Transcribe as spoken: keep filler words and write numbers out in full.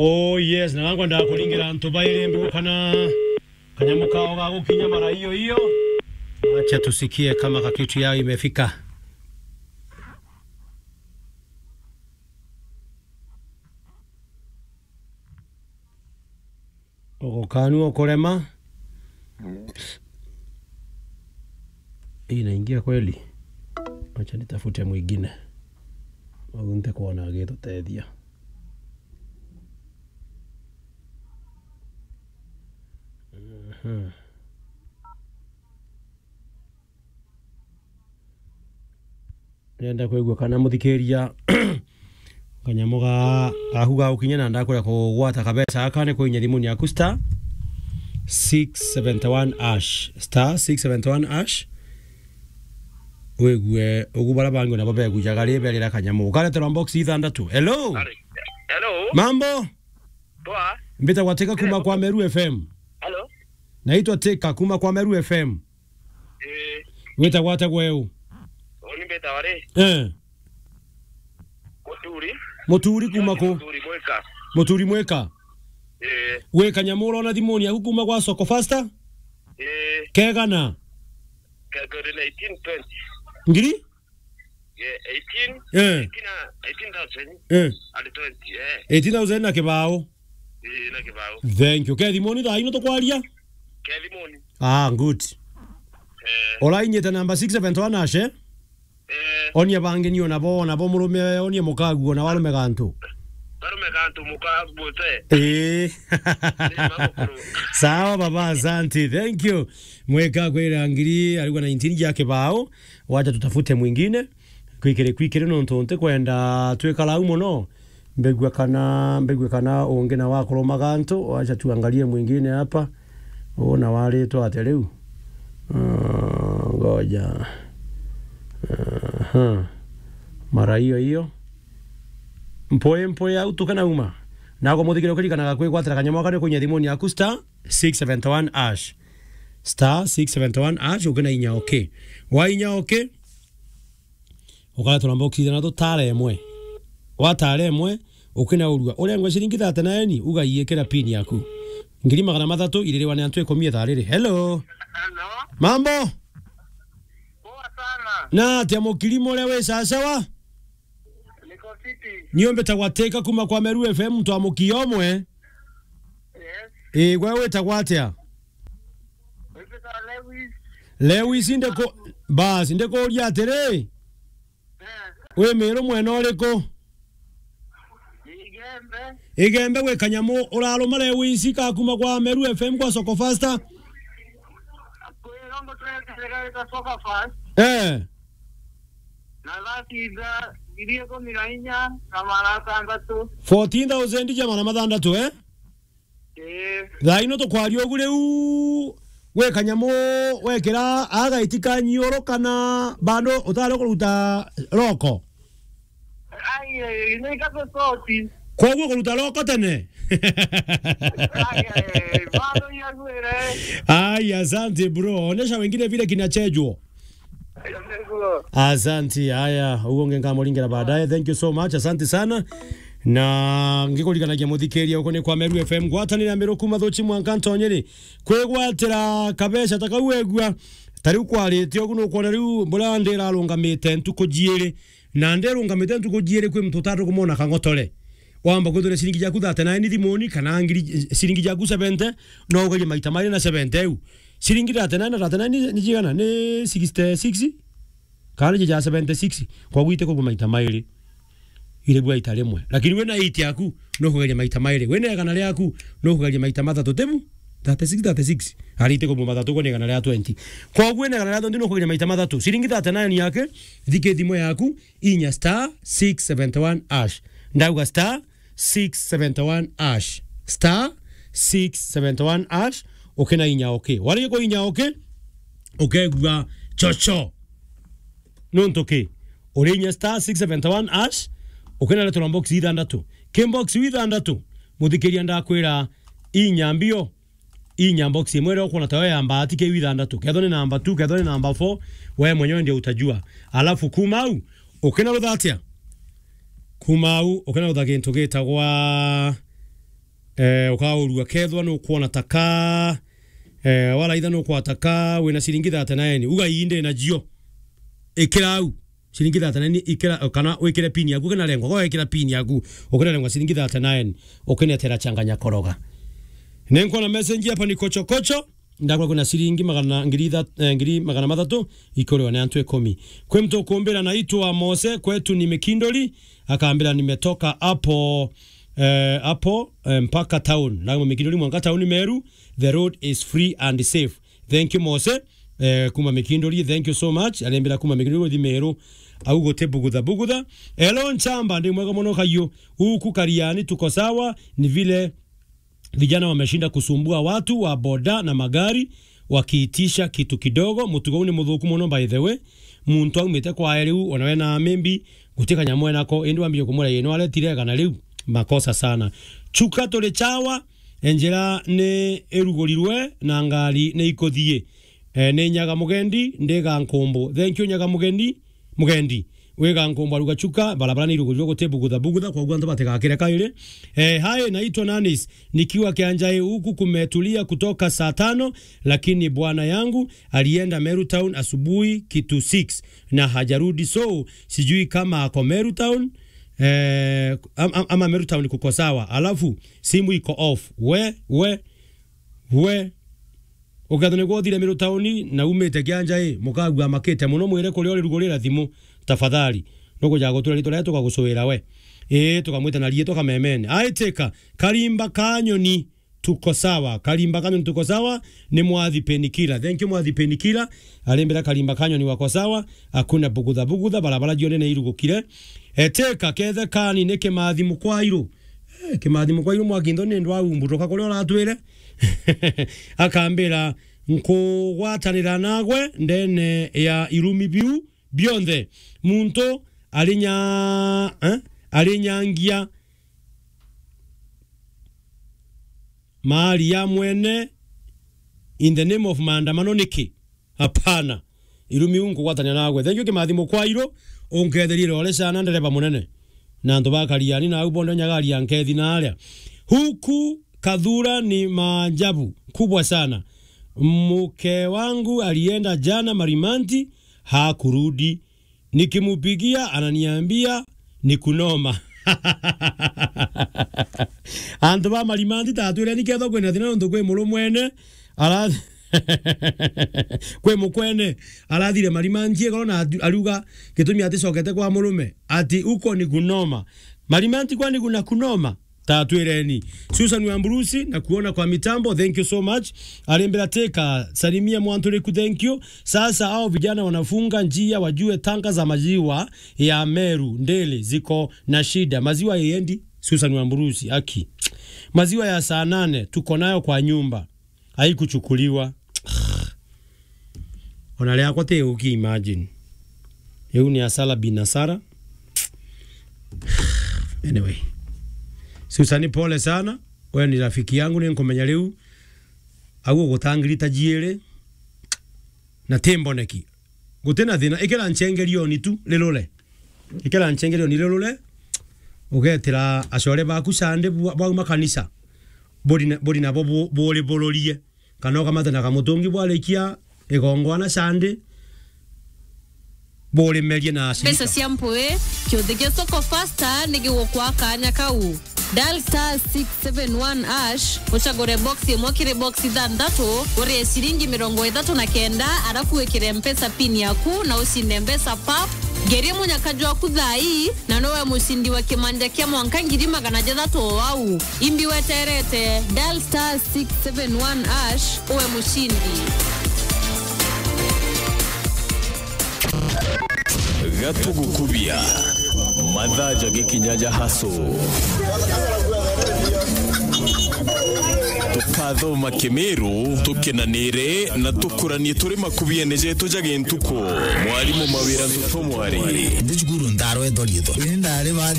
Oh yes, na nangwa ndakuringira antu bairi mbigu kana kanyamu kao ga gukinya mara hiyo hiyo. Acha tusikie kama kakitu yao imefika. Uko kanu ukurema. Mm. Hii inaingia kweli? Acha nitafute mwingine. Au nte kuona agitutethia. Mhm. Ndenda kwigua kana muthikiria kanyamu ga, gaku ga gukinya na ndakwira kugwata kabeca gaka ni kwinya thimuni yaku star six seventy one hash, star six seventy one hash. Wigue ugu bara bangi nabo begujaga ri berira kanyamu. Ukareterwa box ithandatu. Hello? Hello? Mambo? Poa. Mbitagwa Teka kuma kwa Meru F M. Hello? Naitwa Teka kuma kwa Meru F M. Eh. Witagwa atia gwe u? Uni mbitagwa ri? Eh. Muturi. Muturi kuma ku? Muturi Mwika. Muturi Mwika. Eh. Wi kanyamu urona thimuni yaku kuma gwa Soko Fasta? Eh. Kegana? Ke-, ke-, eighteen twenty. Ngiri? Yeah, eighteen, eh, eighteen, uh, eighteen thousand, eh, and twenty, eh. Eighteen thousand na kibao. Eh, na kibao. Thank you. Ke thimuni thaa ino tukwaria? Ke thimuni. Ah, good. Eh. Urainyite namba six seventy one hash, eh? Eh. Onia bangi nio nabo, nabo murume, onia mukaguo na warume gantu. Barume gantu mukaguo te. Eh. Ni mamukuru. Sawa baba, asante. Thank you. Mweka kwira ngiri arigwa nineteen ja kibao. Wacha tutafute mwingine. Kwikiri, kwikiri nontu ntikwenda twikara au mono. Mbigua kana, mbigua kana ungi na wakurumaga antu. Wacha tuangalie mwingine hapa. Uona waritwa atia riu? Ah, ngoja. Aha. Mara hiyo hiyo. Mpoi, mpoi au tukana uma. Nago muthikire ukiririkanaga kwigwatira kanyamu gaka ni kuinya thimuni yaku star six seventy one hash. Star six seventy one hash, ukina inya okay. Wa inya okay. Ukareterwa box ithano tu tara imwe. Watara imwe, ukinaurua. Urengwe ciringi thirty nine, ugaiikira pin yaku. Ngiri magana mathatu iririwa ni antu ikumi ithaa riri. Hello. Hello. Mambo? Poa sana. Na atia mukirimo uria wi sawasawa? Niko fiti. Nio mbitagwa Teka kuma kwa Meru F M, mtu wa mukia umwe. Yes. Ii, gwe witagwa atia? Witagwa Lewis. Lewis, ndiku-, bas, ndikuuria atiri, eh, wi Miru mwena uriku? Igembe. Igembe gwi kanyamu uraruma Lewis ka kuma kwa Meru F M kwa Soko Fasta? Kwi rongo tweteregaita Soko Fast. Eh. Na thati itha, ngiri ikumi na inya na magana atandatu. Fourteen thousand ja magana mathandatu, eh? Ii. Thaa ino tukwaria ugu riu, gwi kanyamu wekira agaiti ka nyiuru kana bado utari kuruta roko? Ai, ai, ni kabe soti. Koguo kuruta roko tene? Ai, ai, bado yagwire. Ai, asante bro. Onesha wengine vile kinachejwa. Asante, haya, uguo nge nkamuringera baadaye. Thank you so much, asante sana. Na ngikuriganagia muthikiria uko ni kwa Meru F M, ngwatanire ya Meru kuma Thuchi mwanka Ntonyeri. Kwigwatira kabeca ta kau wegua, ta riu kwarite ugu nukwona riu mbura ndirarungamite ntuku jiiri. Na ndirungamite ntuku jiiri kwi muntu utari kumwona kang'otore. Wamba kwithira ciringi jaku thirty nine thimuni kana ngiri, ciringi jaku seventy, no ugerie maita mairi na seventy iu. Ciringi thirty nine na thirty nine ni, ni jigana? Ni sixty six? Kana ni ja seventy six? Kwa gwite kubwa maita mairi. Ire bwa ita rimwe. Lakini wina eight yaku, no kugeria maita mairi. Wina igana riaku, no kugeria maita mathatu. Tibu? Thirty six, thirty six. Ari ite kubwa mathatu kwa ni igana ria twenty. Kwa gwina igana ria twenty, no kugeria maita mathatu. Ciringi thirty nine yake, thike thimo yaku, inya star six seventy one hash. Ndauga star six seventy one hash. Star six seventy one hash. Ukina inya okay. Wari kwa inya okay, ukegua chocho. Nontu ki? Uri inya star six seventy one hash, ukina leterwa box ithandatu. Ki box ithandatu, muthikiria ndakwira inya mbio. Inya box imwe iria ukwona tayo ya mbati kiu ithandatu. Kethwa ni number two, kethwa ni number four, we mwenyewe ndio utajua. Alafu kuma au, ukina rutha atia? Kuma au, ukina rutha gintu gitagwa Eh, ukaurua kethwa nukwona taka, eh, waraitha nukwona taka, wina ciringi thirty-nine. Uga ii ndi nacio. Ikira au. Ciringi thirty-nine ikira, kana wikire pin yaku, ukinarengwa, kwa wikira pin yaku, ukinarengwa ciringi thirty-nine, ukinetera changanya koroga. Ninkwona message hapa ni kocho kocho. Ndakwa kwina ciringi magana, ngiri itha-, eh, ngiri magana mathatu ikuriwa ni antu ikumi. Kwi mtu ukumbira naitwa Mose, kwetu ni Mikindori, akambira nimetoka hapo, eh, hapo, eh, mpaka town. Ndakwa Mikindori mwanka town Meru, the road is free and safe. Thank you Mose, eh, kuma Mikindori, thank you so much. Arembira kuma Mikindori guthi Meru, au guti bugutha bugutha. Hello Nchamba, ndi mwega muno kayu. Huku Kariani tuko sawa, ni vile vijana wameshinda kusumbua watu wa boda na magari wakiitisha kitu kidogo. Mutugo uu ni muthuku muno, by the way. Muntu aumite kwae riu, ona we na maybe guti kanyamu enako, indi wambire kumwira, "Ii, nwaretire kana riu?" Makosa sana. Chuka turi chawa, enjera ni irugurirwe na ngari ni ikuthii. Eh, ni Nyaga Mugendi, ndi Gankumbu. Thank you, Nyaga Mugendi. Mugendi. Wi Gankumbu aruga chuka, barabara ni irugurirwe guti bugutha bugutha, kwa uguo antu batigakire kairi. Eh, hi, naitwa Nanis. Nikiwa Kianjai huku kumetulia kutoka saa tano, lakini bwana yangu alienda Meru Town asubuhi kitu six na hajarudi, so sijui kama ako Meru Town, eh, am-, am-, ama Meru Town kuko sawa. Alafu simu iko off. We, we, we. Ukethwa nigwe uthire Meru tauni na umite Kianjai, mukagua amakite muno, mwire kuria uri rugurira thimu, tafadhali. Nukuja gutura ritwa riria tukagucuira we. Ii, tukamwita na riitwa kamemene. Aitika, Karimba ka nyoni, tuko sawa. Karimba ka nyoni, tuko sawa. Ni Mwathi Penikila. Thank you, Mwathi Penikila. Arimbira Karimba ka nyoni wako sawa. Hakuna bugutha bugutha, barabara jione ni irugukire. Eteka, kethe kani ni Kimathi Mukwairu. Eh, Kimathi Mukwairu Mwakinto ni ndwa umburuka kuria uratwire. Akambira, "Nkugwatanira nagwe ndene ya irumi biu bionthe." Muntu arinya-, eh? Arinyangia mali ya mwene in the name of maandamano niki? Hapana. Irumi u nkugwatania nagwe. Thank you, Kimathi Mukwairu. Unketherie rore sana, ndereba munene. Na antu ba Kariani na au bonthe nyagari ya nkethi na aria. Huku Kathura ni maajabu kubwa sana. Mke wangu alienda jana Marimanti, hakurudi. Nikimupigia, ananiambia ni kunoma. Antu ba Marimanti tatwire ni ketho kwina thina nontu kwi murumwene ara-, kwi mukwene arathire Marimanti igoro na atu-, ariuga gitumi aticokete kwa murume, ati uko ni kunoma. Marimanti kwani kuna kunoma? Tatwireni. Susan Wamburusi, na kuona kwa mitambo, thank you so much. Arimbira teka, salimia Mwanturiku, thank you. Sasa hao vijana wanafunga njia, wajue tanka za maziwa ya Meru Ndele ziko na shida. Maziwa iendi, Susan Wamburusi, aki. Maziwa ya saa nane tuko nayo kwa nyumba. Haikuchukuliwa. Ona riakwa ti uki, imagine. Iu ni asara bin asara. Anyway. Susan, pole sana. We ni rafiki yangu, ni nkumenya riu. Au ugutangirita jiiri. Na ti mboneki. Guti na thina. Ikira nchengerioni tu, rirure. Ikira nchengerioni, rirure. Ugetira acore baku Sunday bwa-, bwauma kanisa. Buri na, buri nabo bu-, buri bururie. Kana ukamate na kamutungi bwarikia igongwana Sunday, burimerie na mbeca ashirika cia mpui, kiuthi gia Soko Fasta ni gigukwa kanya kau. Dial star six seven one hash, ucagure box imwe kiri box ithanthatu, urie ciringi mirongo ithatu na kenda, arafu wikire Mpesa pin yaku na ucinde mbeca pap. Ngeria munyaka jwaku thaa ii, na nowe mucindi wa kimanja kia mwanka ngiri magana jathatu o au. Imbi weterete, dial star six seven one hash, uwe mucindi. Gatugukubia. Mathaa jagikinya ja haso. Tukathoma Kimiru, tukenanire na tukuranie turi makubiene jetu ja gintuku. Mwarimu Mawira Ntuto Mwari. Ndi cukuru ndarwetwa riitwa. Ini ndari ba